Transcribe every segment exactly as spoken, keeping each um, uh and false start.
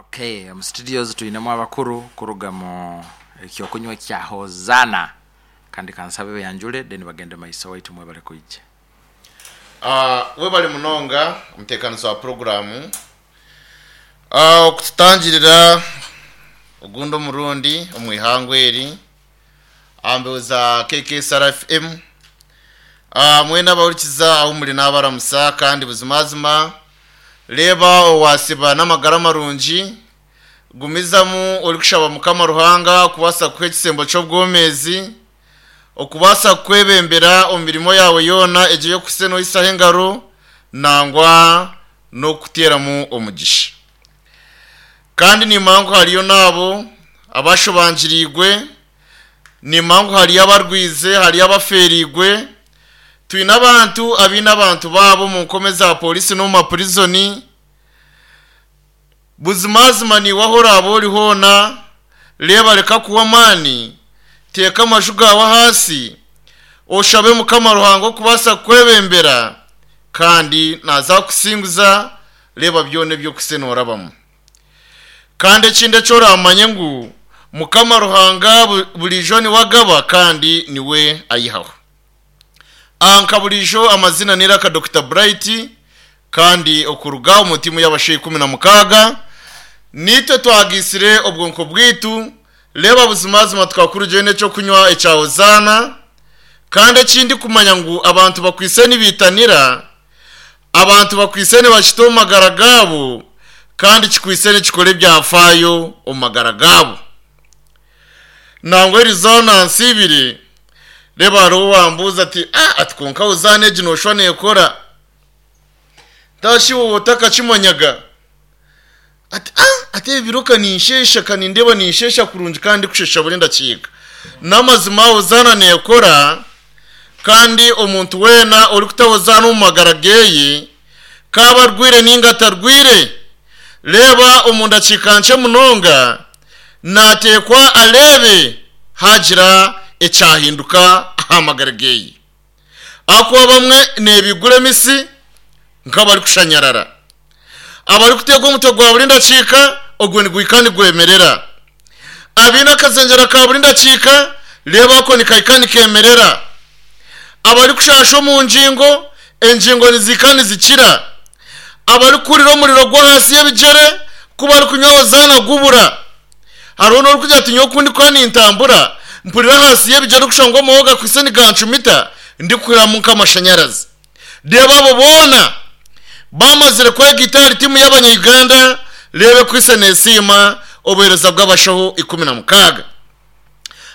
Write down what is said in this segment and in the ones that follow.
Okay, omu studios twinemu abakuru kuruga mu ekyokunywa kya Hosanna, kandi kansabe beyanjule then bagende maiso. Waitu mwebale kwija. Ah, webale munonga omuteekanizi wa puroguramu. Ah, okututangirira ogundi omurundi omu ihangwe eri aha za K K S R F M. Ah, mwena abahurikiza ahu muri n'abaramusa, kandi buzimazima reeba owasiba n'amagara marungi, gumizamu orikushaba Mukama Ruhanga kubaasa kuha ekisembo ky'obwomezi, okubaasa kwebembera omu mirimo yawe yoona egyo y'okuhisa noyisaho engaro, nangwa n'okuteeramu omugisha. Kandi nimanya ngu hariyo n'abo abashobangiriirwe, nimanya ngu hariyo abarwize, hariyo abafeerigwe. Twine abantu abaine abantu baabo omu nkome za polisi n'omu mapurizoni. Buzimazima niiwe aho oraaba ori hoona, reeba reka kuwa amaani, teeka amaju gaawe ahansi, oshabe Mukama Ruhanga okubaasa kukwebembera, kandi naza kukusinguza. Reeba byona ebyokuhisa noorabamu. Kandi ekindi eki oramanye ngu Mukama Ruhanga bu- burijo niwe agaba kandi niwe ayihaho. Aha nka burijo amazina niraka Doctor Bright, kandi okuruga omu tiimu y'abashaija ikumi na mukaaga, nitwe twagisire obwonko bwitu. Reeba buzimazima tukakurugireyo n'ekyokunywa ekya Hozaana. Kandi ekindi kumanya ngu abantu bakwise nibitanira, abantu bakwise nibakita omu magara gaabo, kandi kikwise nikikora ebyafaayo omu magara gaabo. Nangwa erizoona nsiibire, reeba hariho wambuuza ati, "Ah," ati, "konka Hozaana egi nooshwa neekora tashi wowe otakakimanyaga?" Ati, "Ah," ati, "ebiro kaninshesha, kanindeba ninshesha kurungi kandi kushesha buri ndakiika." N'amazima Hozaana neekora, kandi omuntu weena orikuta Hozaana omu magara geye, kaba arwire ninga atarwire, reeba omu ndakiika nkye munonga nateekwa areebe hagira ekyahinduka aha magara geye. Ahakuba bamwe nebigura emisi nk'abarikushanyarara, abarikuteerwa omutwe gwa buri ndakiika ogwo nigwika nigwemerera, abaine akazengyera ka buri ndakiika, reeba ako nikahika nikemerera, abarikushasha omu ngingo, engingo nizihika nizikira, abarikuhurira omuriro gw'ahansi y'ebigyere ku barikunywa Hozaana gubura. Hariho n'orikugira ati, "Nyowe oku ndikuba nintambura mpurira ahansi y'ebigyere kushusha ngu amaho gakwise nigancumita, ndikuhuriramu nk'amashanyarazi." Reeba abo boona bamazire kwegita ahari tiimu y'abanya-Uganda, reeba ekwise neesiima obuheereza bw'abashaho ikumi na mukaaga,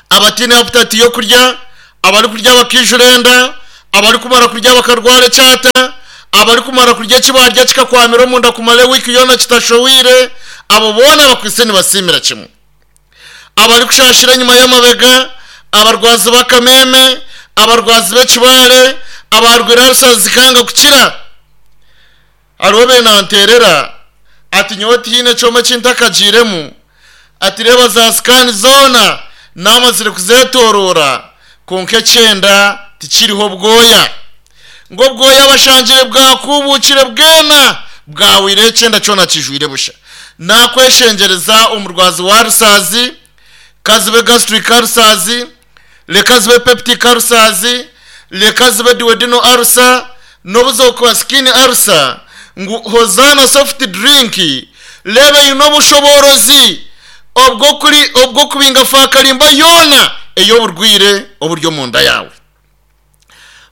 abatiine appetite y'okurya, abarikurya bakijura enda, abarikumara kurya bakarwara ekyata, abarikumara kurya eki barya kikakwamira omunda kumara ewiiki yoona kitashohwire. Abo boona bakwise nibasiimira kimwe, abarikushashira enyuma y'amabega, abarwazi b'akameme, abarwazi b'ekibare, abarwire ulcers zikanga kukira. Hariho benanterera ati, "Nyowe tihaine ekyoma eki ntakagiiremu," ati, "reeba za scan zoona namazire kuzetorora, konka ekyenda tikiriho bwoya," ngo obwoya bashangire bwakubukire bwena bwawire, ekyenda kyona kijwire busha. Nakweshengereza omurwazi wa ulcers, kazibe gastric ulcers, reka zibe peptic ulcers, reka zibe duodenal ulcer, n'obuzokuba skin ulcer, ngu Hosanna soft drink reba eine obushoborozi obwo kuri obwo kubinga fakarimba yoona ey'oburwire oburi omunda yawe.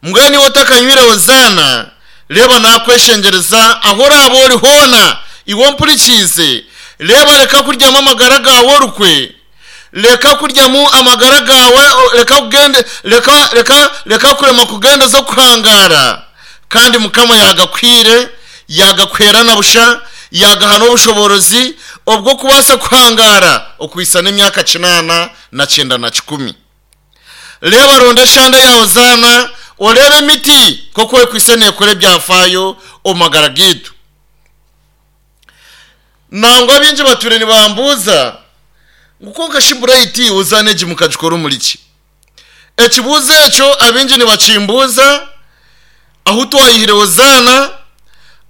Mbwenu iwe otakanywire Hosanna, reeba nakweshengereza aho oraaba ori hoona, iwe ompurikiize, reeba reka kuryamu amagara gawe orukwe, reka kuryamu amagara gawe, o- reka kugende, reka reka reka kurema kugendeza okuhangara. Kandi Mukama yagakwire, yagakwera na busha, yagaha n'obushoborozi obwo kubaasa kuhangara okwisa n'emyaka kinaana na kyenda na kikumi. Reeba ronda eshanda ya Hozaana, oreebe emiti nk'oku ekwise neekora ebyafaayo omu magara gaitu. Nangwa bingi batwire nibambuuza ngu, "Konka shi Bright, Hozaana egi mukagikora omuri ki?" Ekibuuzo ekyo abingi nibakimbuuza ahu twayihire Hozaana,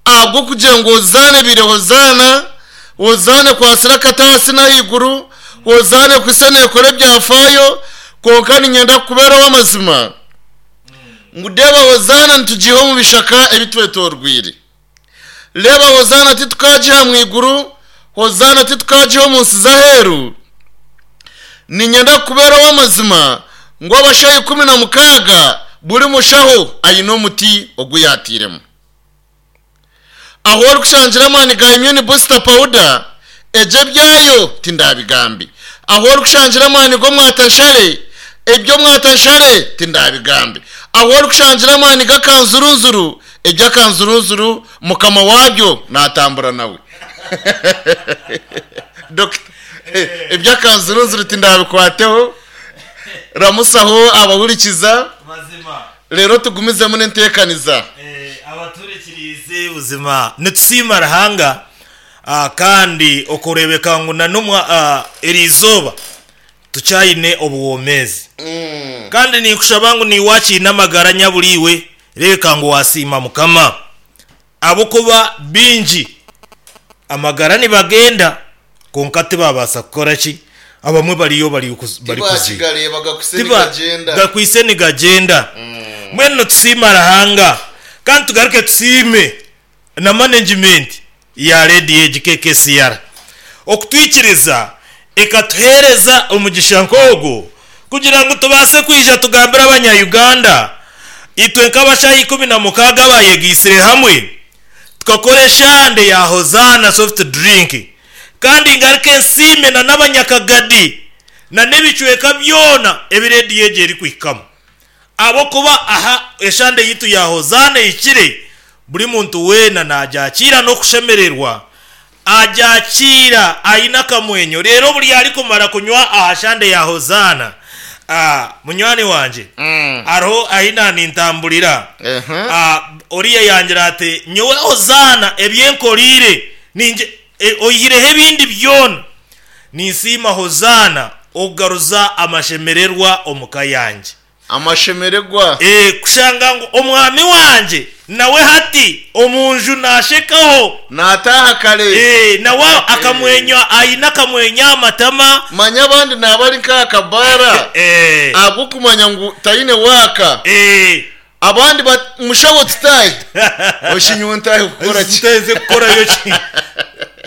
ahabw'okugira ngu Hozaana ebiire Hozaana. Hozaana ekwasire akataasi n'ahaiguru, Hozaana ekwise neekora ebyafaayo, kwonka niinyenda kukubeera ow'amazima ngu deeba Hozaana nitugiiha omu bishaka ebitwetoorwire. Reeba Hozaana titukagiiha mu iguru, Hozaana titukagiiha omu nsi z'aheeru. Niinyenda kukubeera ow'amazima ngu abashaho ikumi na mukaaga buri mushaho aine omuti ogu yaatairemu. Ahu orikushangira amaani ga immune booster powder, egyo ebyayo tindabigambe. Ahu orikushangira amaani g'omwatanshare, eby'omwatanshare tindabigambe. Ahu orikushangira amaani g'akanzurunzuru, eby'akanzurunzuru mukama wabyo naatambura nawe. Dokita, eby'akanzurunzuru tindabikwateho, ramusaho abahurikiza, Mazima. reero tugumizemu n'enteekaniza. Eh, abaturikiriize buzima nitusiima Ruhanga ah, kandi okureebeka ngu na n'omwa ah, eri izooba tukyayine obuwomeezi kandi ninkushaba ngu niiwe wakiine amagara nyaburiiwe reebeka ngu wasiima Mukama ahabw'okuba baingi amagara nibagenda kwonka tibabaasa kukora ki abamwe bariyo bari kuz- bari kuziika Tibakigareeba gakwitse Tiba- nigagyenda. gakwitse nigagyenda. Mbwenu nitusiima Ruhanga kandi tugaruke tusiime na management ya rediyo egi K K C R okutwikiriza ekatuheereza omugisha nk'ogu kugira ngu tubaase kwija tugambire abanya-Uganda itwe nk'abashaho ikumi na mukaaga abayegaitsire hamwe tukakora eshande ya Hozaana soft drink. Kandi ngaruke nsiime na n'abanyakagadi na n'ebicweka byona ebi rediyo egi erikuhikamu ahabw'okuba aha eshande yitu ya Hozaana ehikire buri muntu weena nagyakiira n'okushemererwa, agyakiira aine akamwenyo. Reero buri arikumara kunywa aha shande ya Hozaana, ah, munywani wangye, hariho ahi nanintamburira, Ah, oriya yangira ati nyowe Hozaana ebyenkoriire ninje e, oyihireho ebindi byona ninsiima Hozaana okugaruza amashemererwa omuka yangye. Amashemererwa. E, kushanga ngu omwami wangye nawe hati omunju nashekaho. Naataaha kare. E, nawe akamwenyo aine akamwenyo aha matama. Manya abandi naaba ari nk'aha kabaara e, ahabw'okumanya ngu taine waaka. e, Abandi bat mushaho tutaahe. Oshi nyowe ntaahe kukora ki? Nteze kukorayo ki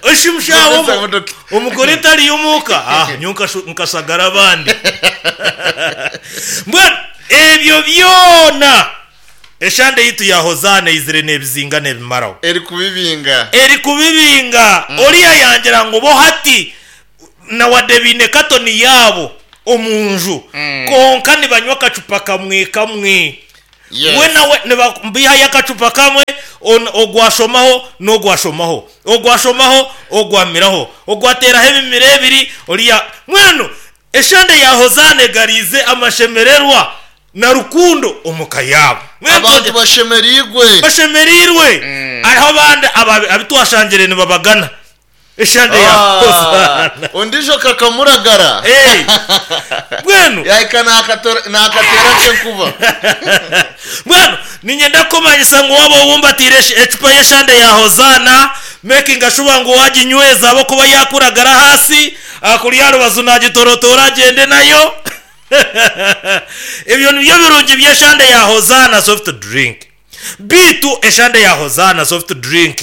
oshi mushaho? Ngeze dokita. Omugore tariyo omuka, ah, nyowe nkashu- nkashagara abandi. Mbwenu ebyo byona eshande yitu ya Hozaana eizire n'ebizinga n'ebimaraho. Eri kubibinga. Eri kubibinga. Oriya yangira ngu bo hati nawadde biine katoni yaabo omunju, konka nibanywa akacupa kamwe kamwe. Yes. We nawe nibabihayo akacupa kamwe, on- ogwashomaho n'ogwashomaho, ogwashomaho ogwamiraho, ogwateraho ebimira ebiri oriya. Mwenu eshande ya Hozaana egarize amashemererwa na rukundo omuka yaabo. Mwenu Abantu bashemereirwe. Bashemereirwe. Hariho abandi aba- abitwashangire nibabagana eshande ya Ah, Hozaana. Ondijo kakamuragara. Eh, mbwenu Yahika nakatora- nakatera kenkuba. Mbwenu ninyenda kukumanyisa ngu waba owumbatire esh- ecupa y'eshande ya Hozaana, making sure ngu waginyweza ahabwokuba yakuragara hasi akuri aha rubazu nagitorotora agende nayo. Ebyo nibyo birungi by'eshande ya Hozaana soft drink. Bitu eshande ya Hozaana soft drink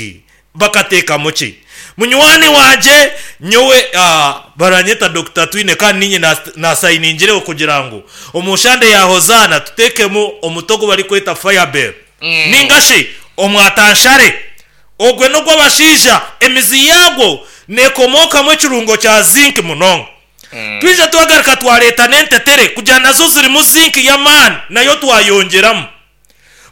bakateekamu ki? Munywani wangye, nyowe uh, baranyeta Doctor Twine, kandi ninye nasayiningireho kugira ngu omu shande ya Hozaana tuteekemu omutogo barikweta Firebell mm. ningashi omwatanshare. Ogwe n'ogw'abashaija, emizi yagwo nekomokamu ekirungo kya zinc munonga. Twija twagaruka twareeta n'entetere kugira nazo zirimu zinc y'amaani, nayo twayongyeramu.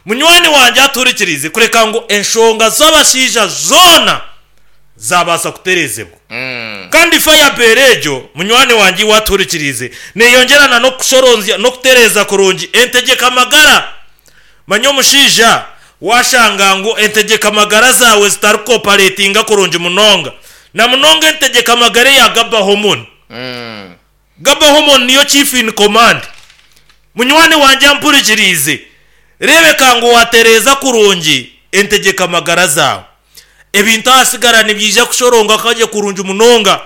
Munywani wangye aturikirize kureka ngu enshonga z'abashaija zoona zabaasa kuterezebwa. Kandi Firebell egyo, munywani wangye waturikirize, neyongerana n'okushoronzya n'okutereza kurungi entegeka amagara. Manya omushaija washanga ngu entegeka amagara zawe zitarikoperatinga kurungi munonga, na munonga entegeka amagara eya GABA hormone. GABA hormone niyo chief in command. Munywani wangye ampurikirize, rebeka ngu watereza kurungi entegeka amagara zawe. Ebintu ahasigara nibyija kushoronga kaje kurungi munonga.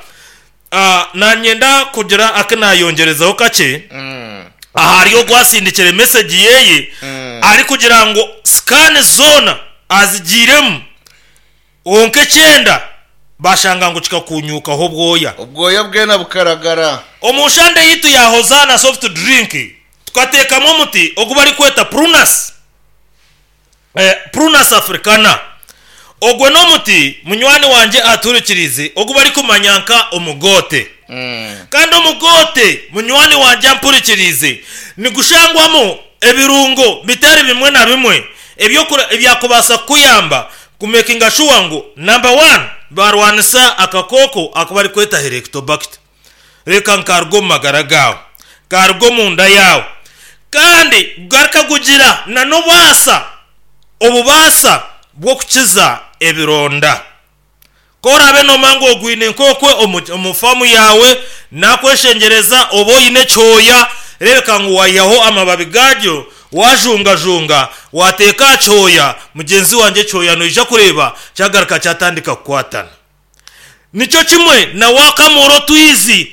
Ah, nanyenda kugira akinayongerezaho kakye Mm. ahari ogwasindikire message yeye Mm. ari kugira ngo scan zona azigiremu wonka ekyenda bashanga ngu kikakunyukaho obwoya. Obwoya bwena bukaragara. Omushande yitu ya Hozana soft drink tukateekamu omuti ogu barikweta prunus, eh, prunus africana. Ogwe n'omuti munywani wanje aturikirize ogu barikumanya nka omugote. Mm. Kandi omugote munywani wanje ampurikirize nigushangwamu ebirungo bitari bimwe na bimwe ebyokura- ebyakubasa kuyamba kumekinga sure ngu number one barwanisa akakoko ako barikweta helicobacter, reka nkaruga omu magara gawe, karuga omunda yawe, kandi garikagugira na n'obubaasa obubaasa bw'okukiza ebironda. Korabe nomanga ogwine nkokwe omu- omu famu yawe nakweshengereza oba oyine ekyoya, rebeka ngu wayihaho amababi gagyo, wajungajunga wateeka aha kyoya mugenzi wangye, ekyoya noija kureba kyagaruka kyatandika kukwatana. Nikyo kimwe na wakamura otwizi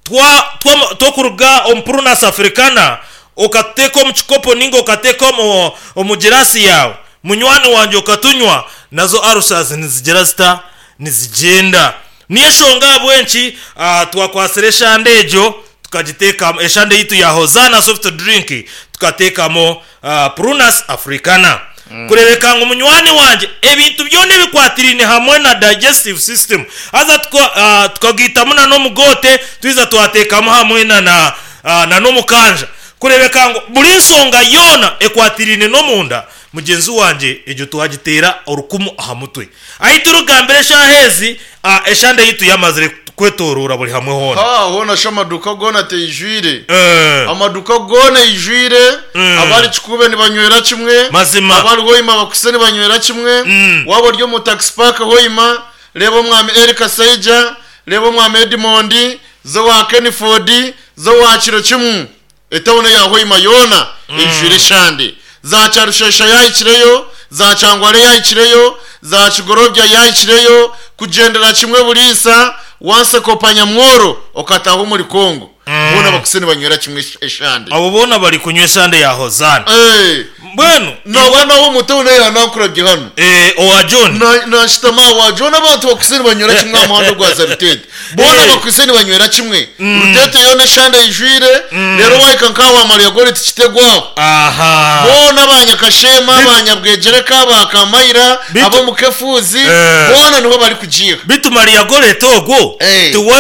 twa twa twokuruga omu prunus africana okateeka omu kikopo ninga okateeka omu omu girasi yawe munywani wangye okatunywa, nazo ulcers nizigira zita nizigyenda. Niyo enshonga ahabw'enki ah, twakwasire eshande egyo tukagiteekamu eshande yitu ya Hozana soft drink tukateekamo uh, prunus africana mm. kurebeka ngu munywani wangye ebintu byona ebikwatiraine hamwe na digestive system haza tuka, uh, tukagitamu na n'omugote twiza twateekamu hamwe na na, uh, na n'omukanja kurebeka ngu buri nsonga yoona ekwatiraine n'omunda mugenzi wangye egyo twagiteera orukumu aha mutwe. Ahi turugambira eshaaha ezi uh, eshande yitu yamazire kwetorora buri hamwe hoona. Ha hona sho amaduka gona teyijwire. Eh, amaduka gona yijwire. Mm. Abari kikube nibanywera kimwe. Mazima. Abari hoima bakuse nibanywera kimwe. Mm. Waba ori omu taxi park hoima, reba omwami Eric Saija, reba omwami Edmond zo wa Kenford zo wa kiro kimwe, etawuni ya hoima yona ijwire eshande. Za Kyarushesha yahikireyo, za Kyangware yahikireyo, za Kigorobya yahikireyo, kugendera kimwe buriisa wansekopa nyamworo okataha omuri Kongo, boona bakuse nibanywera kimwe eshande. Abo boona bari kunywa eshande ya Hozana. Eh, mbwenu nawe nawe omuto naye yanankurabye hano. Eh, owa John. Na- nashitama wa John, abantu bakuse nibanywera kimwe aha muhanda gwa Zarutete, boona Eh. bakuse nibanywera kimwe Rutete yona eshande yijwire. Rero wahika nkaho wamara yagore tikitegwaho. Aha. Boona abanyakashema, abanyabwegereka, bakamayira, Bitu- abo mukefuzi, Eh. boona nibo bari kugiha. Bitu Maria Gorete ogwo Eh. tiwe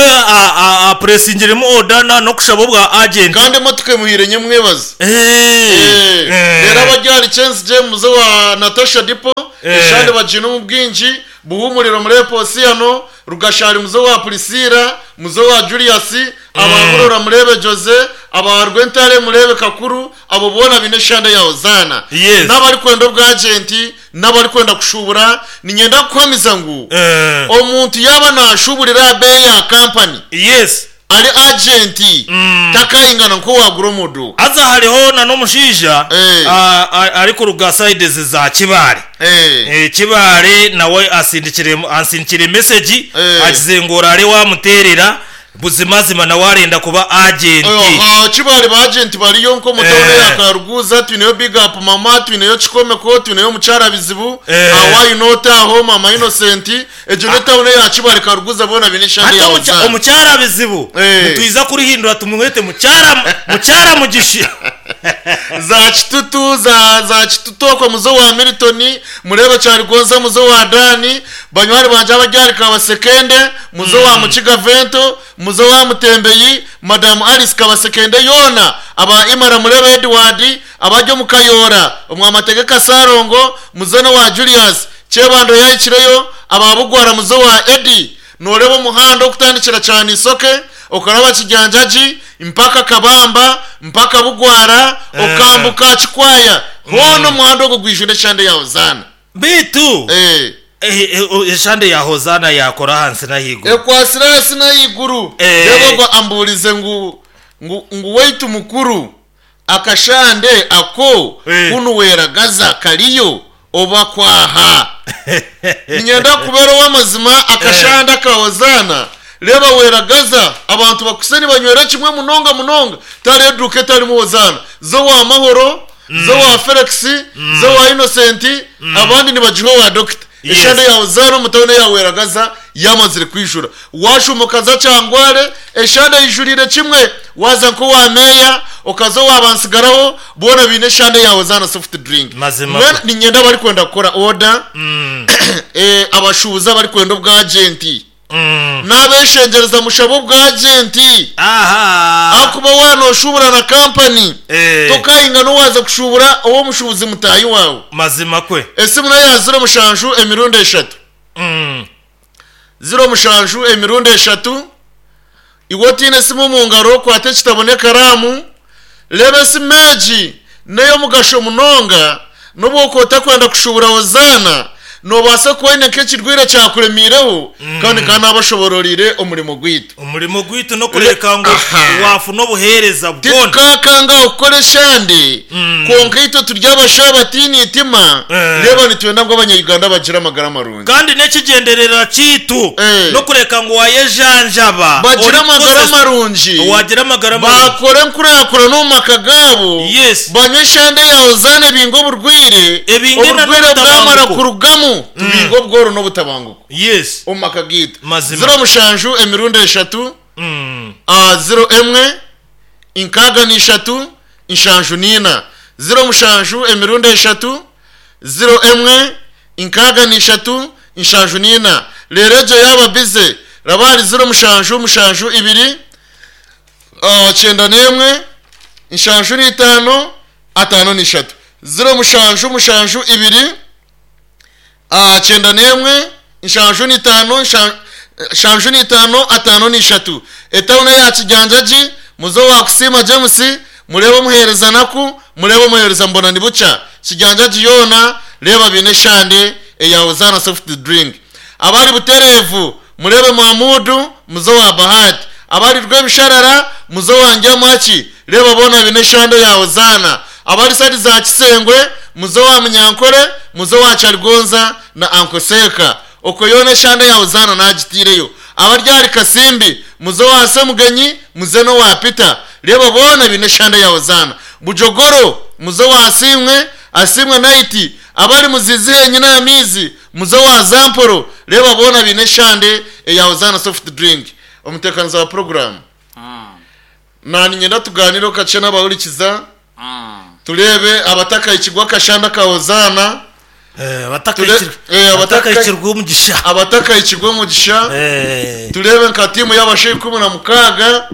apuresingiremu odana n'okushaba obwa agent. Kandi emotoka emuhire nyemwebaza. Eh, Eh, eh. rero abaryari Chance James wa Natasha Dipo Eh. eshande bagina omu bwingi buhumuriro muri Eposiyano Rugashari muzo wa Priscilla muzo wa Julius, ababurora murebe Jose, abarwentare murebe Kakuru, abo bona bine eshande ya Hozana. Yes. N'abari kwenda obwa agent n'abari kwenda kushubura, ninyenda kukwamiza ngu Eh, omuntu yaba nashuburira abeyi ya kampani yes ari agent Mm. takayingana nko wagura omuduka. Haza hariho na n'omushaija Eh. ah, ah, ari kuruga sides za Kibaare. Eh. Eh, Kibaare nawe asindikire ansindikire message Eh. agize ngo orare wamuterera buzimazima nawe arenda kuba agent. Aha kibali ba agent bariyo nko mutawune Eh. ya Karuguza, twineyo big up mama, twineyo Kikomeko, twineyo mucyara bizibu. Eh. Awayi nota aho mama Innocent ejo ne tawune ya Kibali Karuguza bona bine shande Hata ya omucha- Ozana. omukyara bizibu Eh. nitwiza kurihindura tumwete mukyara mukyara mugishi. Za Kitutu, za za Kitutoko muzo wa Milton, murebe Cyarigonza muzo wa Dani, banywari banje abaryari Kabasekende muzo wa Mukiga Vento muzo wa Mutembeyi, Madam Alice Kabasekende yona, aba Imara murebe Edward, abajyo mukayora omwamategeka Sarongo muzono wa Julius Chebando yayikireyo, ababugwara muzo wa Eddie, noreba omuhanda okutandikira cyane isoke okaraba Kijanjaji mpaka Kabamba mpaka Bugwara okambuka Kikwaya, hono omuhanda ogwo gwijwire eshande ya Hozana. Bitu Eh, eh, eh, o- eshande ya Hozana yakora hansi nahigo. Ekwasire hasi n'ayiguru. Eh. Reba ogwo amburize ngu ngu ngu waitu mukuru akashande ako Eh. kunu weragaza kariyo Oba kwaha ninyenda kubera ow'amazima akashanda ka Hozaana. Reba weragaza abantu bakuse nibanywera kimwe munonga munonga, tari eduka etarimu Hozaana, zo wa Mahoro, zo wa Felix, zo wa Innocent, abandi nibagiha owa dokita. Yes. Eshanda ya Hozaana omutawuni ya Weragaza yamazire kwijura. Washuma okaza Kyangware, eshanda yijurire kimwe. Waza nkowa meya, okaza owa bansigaraho, boona biine eshanda ya Hozaana soft drink. Mazima. Mbwenu ninyenda barikwenda kukora order, Mm. eh, abashubuzi abarikwenda obwagenti Mm. n'abeshengereza mushabe obwagenti. Aha. Akuba wanoshubura na kampani, Eh. tokayinga nowaza kushubura ow'omushubuzi mutayi wawe. Mazima kwe. Esimu nayo ya ziro mushanju emirundi eshatu, Mm. ziro mushanju emirundi eshatu. Iwe otiine esimu mu ngaro, kwata ekitabo n'ekaramu, reba esimu egi n'ey'omugasho munonga. N'obu okota kwenda kushubura Hozaana, nobaasa kuba oine nk'ekirwire kyakuremiireho, kandi kandi nabashobororire omurimo gwaitu. Umurimo gwitu no kureka ngo Aha. wafu n'obuhereza bwona. Titukakanga okukora eshande, Mm. konka itwe turi abasha batiine itima. Eh. Reba nitwenda ngu abanyayuganda bagire amagara marungi. Kandi n'ekigenderera kiitu Eh. no kureka ngo wayejanjaba Bagire Ori amagara kukozesa- marungi, wagira amagara marungi. bakore enkurakura n'omu maka gaabo. Yes. Banywe eshande ya Hozaana, ebinga oburwire. Ebinge na Oburwire n'obutabanguko. bwamara kurugamu, tubinga obworo n'obutabanguko Yes. omu maka gaitu. Mazima. Ziro mushanju emirundi eshatu, Mm. ah, ziro emwe inkaga n'ishatu inshanju n'ina. Ziro mushanju emirundi eshatu, ziro emwe inkaga n'ishatu inshanju n'ina. Rero egyo yaba bize, rabari ziro mushanju mushanju ibiri, ah, cyenda n'emwe inshanju n'itano atano n'ishatu. Ziro mushanju mushanju ibiri, ah, cyenda n'emwe inshanju n'itano inshan- nshanju n'itano atano n'ishatu. Etawuni ya Kijanjagi, muzo wakusima James, murebe omuhereza naku, murebe omuhereza mbona nibuca. Kijanjagi yoona reba bine eshande eya Hozaana soft drink. Abari Buterevu murebe Mamudu, muzo wa Bahati. Abari Rwebisharara muzo wa Njamaki, reba bona bine eshande ya Hozaana. Abari sadi za Kisengwe muzo wa Munyankore, muzo wa Kyarigonza na Ankoseka, oko yona eshande ya Hozaana nagitireyo. Abaryari Kasimbi muzo wa Semugenyi, muze no wa Peter, reba bona bine eshande ya Hozaana. Bujogoro muzo wa Asimwe, Asimwe Naiti. Abari muzizi henyine amizi, muzo wa Zamporo, reba bona bine eshande ya Hozaana soft drink. Omutekaniza wa program, nani nyenda tuganire okace n'abahurikiza, turebe abatakayikirwa akashanda ka Hozaana. Eh, abatakayikirwa Eh, abataka- abatakayikirwa umugisha. Abatakayikirwa omugisha. Eh. Turebe nka tiimu y'abasha ikumi na mukaaga,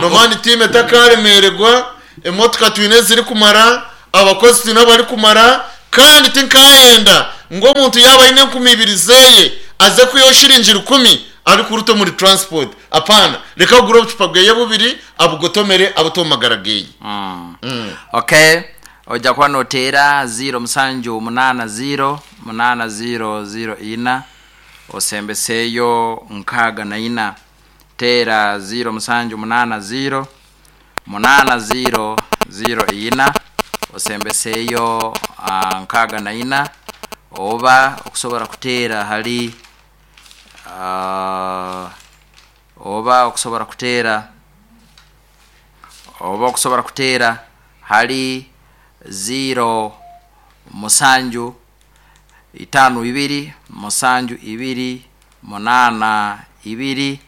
nomani tiimu etakaremererwa, emotoka twine eziri kumara, abakozi twine abari kumara. Kandi tinkayenda ngu omuntu yaba aine enkumi ibiri zeye aze kwihaho shiringi rukumi arikuruta omuri transport. Apana, reka agure obucupa bweye bubiri, abugotomere, abute omu magara geye. Okay, ojja kuba noteera ziro musanju munana ziro munana ziro ziro ina osembeseeyo nkaaga na ina. Teera ziro musanju munana ziro munana ziro ziro ina osembeseeyo ah, nkaaga na ina. Oba okusobola kuteera hali, ah, oba okusobola kuteera oba okusobola kuteera hali ziro musanju itano ibiri musanju ibiri munana ibiri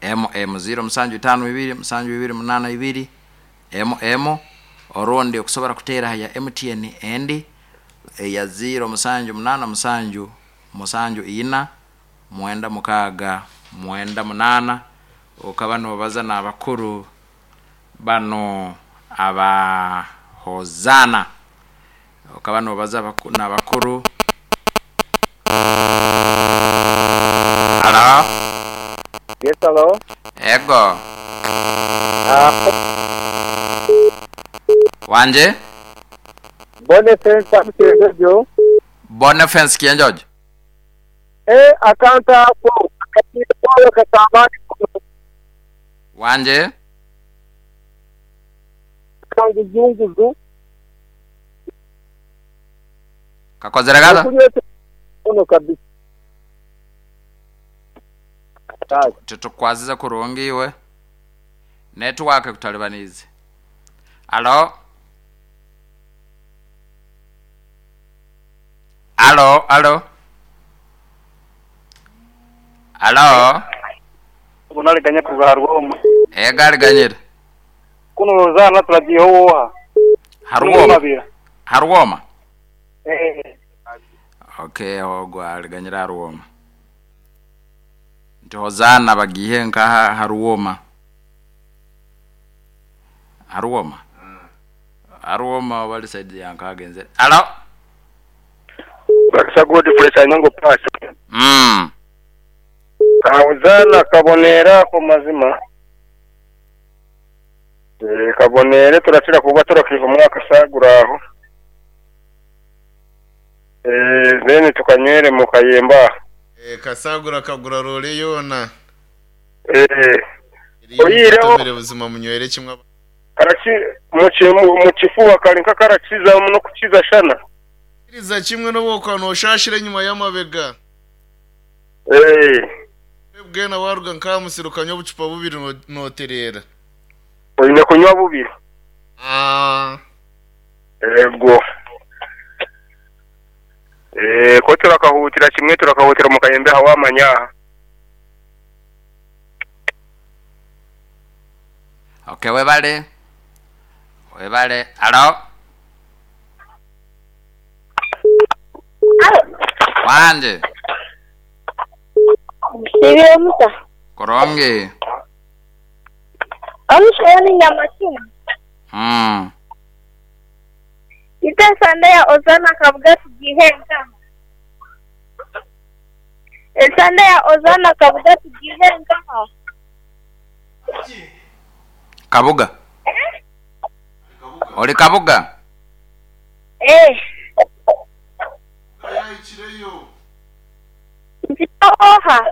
mm ziro musanju itano ibiri musanju ibiri munana ibiri mm. Orundi okusobola kuteera ya M T N endi eya ziro musanju munana musanju musanju ina mwenda mukaaga mwenda munana. Okaba nobaza n'abakuru bano aba Hozana, okaba nobaza abaku- n'abakuru. Alo? Yes, hello. Ego. Uh, Wanje. Boniface Kienjojo. Boniface Kienjojo. Eh, akanta hapo akatiwa katamani Wanje. kanguzunguzu. Kakozere kata? Ono kabisa. Tutukwaziza kurungi iwe. Network kutalibanize. Alo? Alo, alo. Alo? Unaliganya kuva Harwoma. Eh, galiganyira. Kuno Hozana turagiye woha. Harwoma. Harwoma. Eh. Okay, ogwo aliganyira Harwoma. Nti Hozana bagiye nkaha Harwoma. Harwoma. Harwoma wali side yankagenze. Alo? Bakisa Godfrey Sanyongo pass. Mm. Hozana kabonera ku mazima. Eh, kabonere turakira kuba turakiva umwaka saguraho. Eh, then tukanywere mu kayemba. Eh, kasagura kagura role yona. Eh. Oyireho buzima munywere kimwe. Karaki mu kifuba kali nka karakiza no kukiza shana. Kiriza kimwe no bokano oshashire nyuma y'amabega. Eh. Bwena waruga nkamusiruka obucupa bubiri noterera. Oyine kunywa bubiri. Ah. Ego. Eh, ko turakahutira kimwe turakahutira mu kayembe hawamanya. Okay, webale. Webale. Alo. Alo. Wanje. Sibyo musa. Koronge. Amushoni nyamakina. Mm. Ite sande ya Ozana kabuga tugihenga. Esande ya Ozana kabuga tugihenga. Kabuga. Eh? Oli kabuga? Eh. Oha.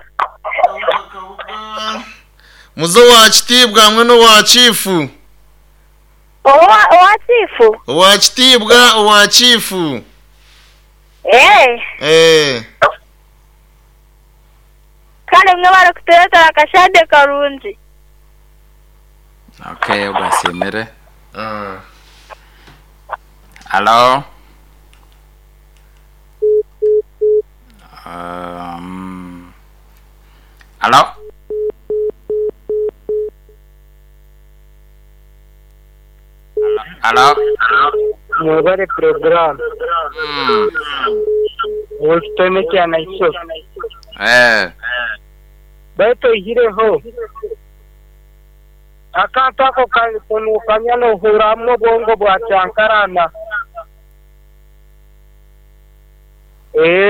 Muzo wa kitibwa hamwe no wa chifu. Owa owa chifu. Owa kitibwa owa chifu. Eh. Eh. Kale mwe barakutereta akashade karungi. Okay, ugasimire. Ah. Hello. Um. Hello. Hello. Mwebale program. Mm. Wostone cyane iso. Eh. Baito ihireho. Akantu ako kanukanya no huramwo bwongo bwa cyankarana. Eh.